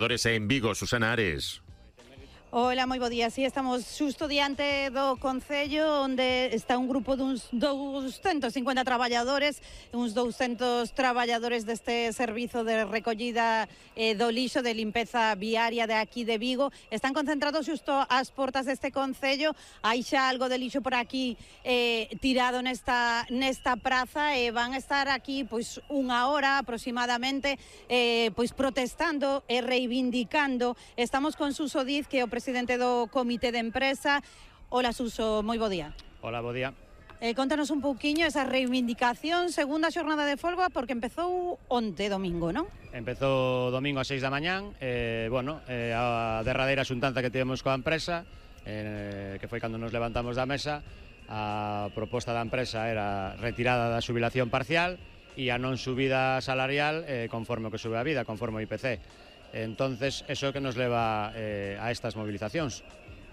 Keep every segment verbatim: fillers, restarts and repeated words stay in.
En Vigo, Susana Ares. Hola, moi bo día. Sí, estamos xusto diante do Concello, onde está un grupo duns doscientos cincuenta traballadores, uns doscientos traballadores deste servizo de recollida eh, do lixo, de limpeza viaria de aquí de Vigo. Están concentrados xusto ás portas deste Concello. Hai xa algo de lixo por aquí eh, tirado nesta, nesta praza e van a estar aquí pois unha hora aproximadamente eh, pois protestando e reivindicando. Estamos con Suso Diz, que é o presidente do Comité de Empresa. Hola, Suso, moi bo día. Hola, bo día. Eh, contanos un pouquiño esa reivindicación, segunda xornada de folga, porque empezou onte domingo, non? Empezou domingo a seis da mañán, eh, bueno, eh, a derradeira xuntanza que tivemos coa empresa, eh, que foi cando nos levantamos da mesa. A proposta da empresa era retirada da xubilación parcial e a non subida salarial eh, conforme o que sube a vida, conforme o I P C. Entonces, eso que nos leva eh, a estas movilizacións.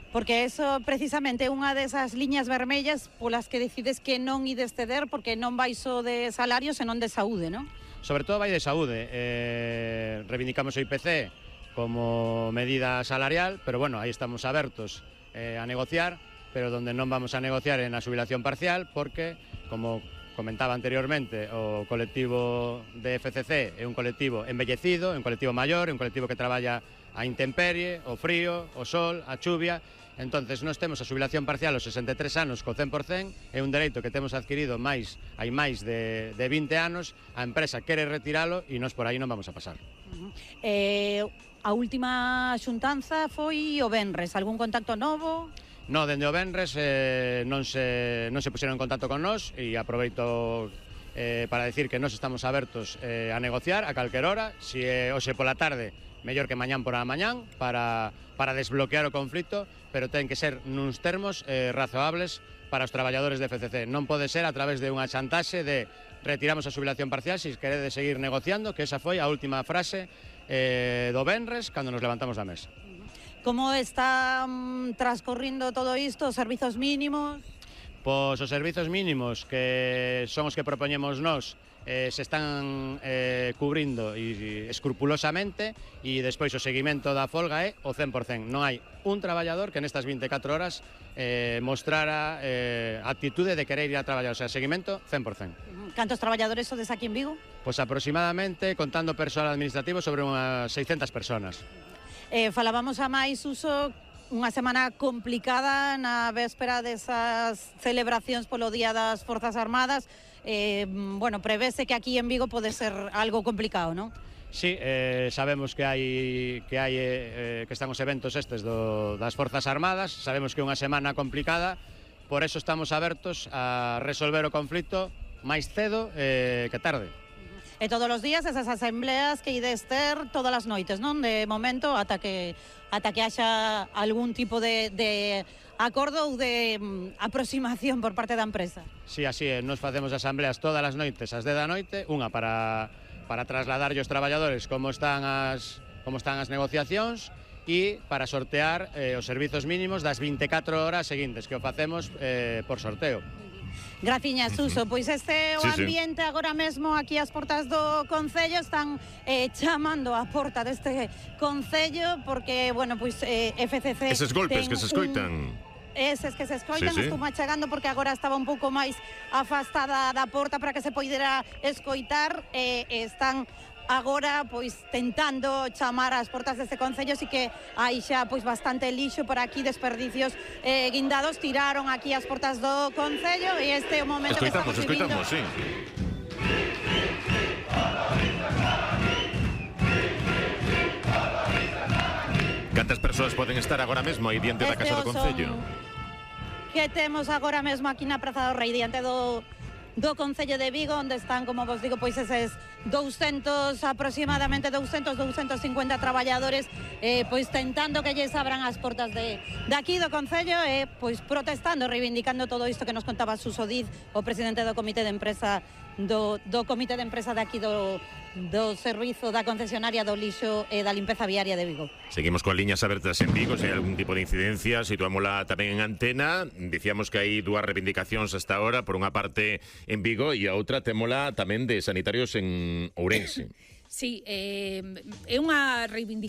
Porque eso precisamente é unha desas liñas vermellas polas que decides que non ides ceder, porque non vai só de salarios senón de saúde, non? Sobre todo vai de saúde. Eh, reivindicamos o I P C como medida salarial, pero bueno, aí estamos abertos eh, a negociar, pero donde non vamos a negociar é na xubilación parcial, porque, como comentaba anteriormente, o colectivo de F C C é un colectivo embellecido, é un colectivo maior, é un colectivo que traballa a intemperie, o frío, o sol, a chuvia. Entonces, nós temos a xubilación parcial aos sesenta e tres anos co cen por cen, é un dereito que temos adquirido máis hai máis de, de vinte anos, a empresa quere retiralo e nós por aí non vamos a pasar. Uh-huh. eh, a última xuntanza foi o venres, algún contacto novo? No, dende o venres eh, non, se, non se puxeron en contacto con nós e aproveito eh, para decir que nós estamos abertos eh, a negociar a calquer hora, se é hoxe pola tarde, mellor que mañán por a mañán, para, para desbloquear o conflito, pero ten que ser nuns termos eh, razoables para os traballadores de F C C. Non pode ser a través de unha chantaxe de retiramos a xubilación parcial se queredes seguir negociando, que esa foi a última frase eh, do venres cando nos levantamos da mesa. Como está um, transcorrindo todo isto, os servizos mínimos? Pois os servizos mínimos, que son os que propoñemos nós, eh, se están eh, cubrindo e, escrupulosamente, e despois o seguimento da folga é o cen por cen. Non hai un traballador que nestas vinte e catro horas eh, mostrara eh, actitude de querer ir a traballar, o sea, seguimento cen por cen. Cantos traballadores sodes aquí en Vigo? Pois aproximadamente, contando persoal administrativo, sobre unhas seiscentas personas. Eh, falábamos a máis, Uso, unha semana complicada na véspera desas celebracións polo Día das Forzas Armadas. Eh, bueno, prevese que aquí en Vigo pode ser algo complicado, non? Sí, eh, sabemos que hai que hai eh, que están os eventos estes do, das Forzas Armadas, sabemos que é unha semana complicada, por eso estamos abertos a resolver o conflito máis cedo eh, que tarde. E todos os días esas asambleas que ides ter todas as noites, non? De momento, ata que ata que haxa algún tipo de, de acordo ou de um, aproximación por parte da empresa. Sí, así é, nos facemos asambleas todas as noites, ás dez da noite, unha para, para trasladar os traballadores como están as, como están as negociacións, e para sortear eh, os servizos mínimos das vinte e catro horas seguintes, que o facemos eh, por sorteo. Graciñas, Suso. Pois este é o sí, ambiente sí. Agora mesmo aquí ás portas do Concello. Están eh, chamando a porta deste Concello porque, bueno, pois eh, F C C... Eses golpes que se escoitan... Un... Eses que se escoitan, sí, sí. Estou machegando porque agora estaba un pouco máis afastada da porta para que se poidera escoitar. Eh, están agora pois tentando chamar ás portas deste Concello, así que hai xa pois bastante lixo por aquí, desperdicios eh, guindados, tiraron aquí as portas do Concello e este é o momento escoitamos, que estamos escoitamos, sí. Cantas persoas poden estar agora mesmo aí diante da este Casa do Concello? Que temos agora mesmo aquí na Praza do Rei, diante do do Concello de Vigo, onde están, como vos digo, pois eses doscientos, aproximadamente doscientos, doscientos cincuenta traballadores eh, pois tentando que lles abran as portas de, de aquí do Concello e eh, pois protestando, reivindicando todo isto que nos contaba Suso Diz, o presidente do Comité de Empresa do, do Comité de Empresa de aquí do, do servizo da concesionaria do lixo e da limpeza viaria de Vigo. Seguimos con liñas abertas en Vigo, se hai algún tipo de incidencia, situámola tamén en antena. Dicíamos que hai dúas reivindicacións hasta ahora, por unha parte en Vigo e a outra témola tamén de sanitarios en Ourense. Sí, eh, é unha reivindicación